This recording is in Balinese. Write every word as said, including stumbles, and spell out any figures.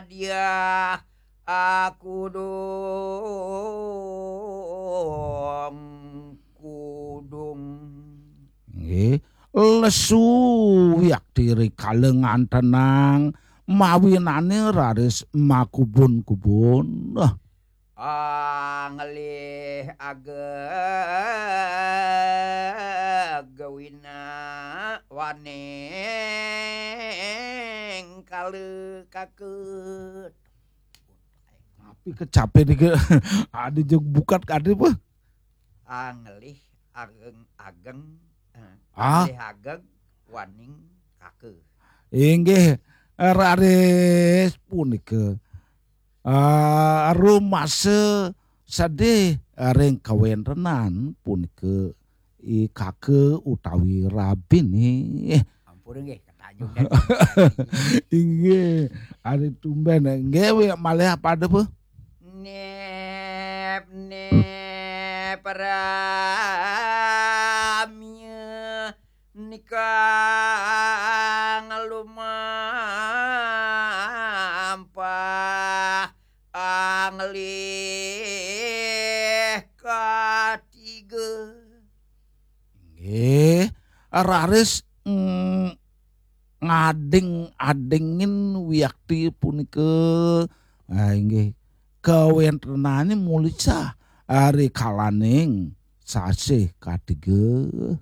Dia aku dong kudung. Nggih, lesu wiakti rikala ngantenang mawinane raris makubun-kubun. Ah. Anglih ageg wina waning kala kakut. Tapi kecape niki adi jeg bukat kadi apa? Anglih ageng-ageng. Eh, ah. Anglih ageg waning kaka. Inggih, raris punika. Ah, rumasa sedih ring kawentenan punika i kaka utawi rabine. Ampun nggih, ketanjung dan inggih, ari tumben nggih wi malih pada apa? Nep, nep, ramya nikang lumampah anglih katiga. Nggih, raris, mm, ngading-adingin wiakti punika. Ah, inggih, kawentenane mulisah ari kalaning sasih katiga.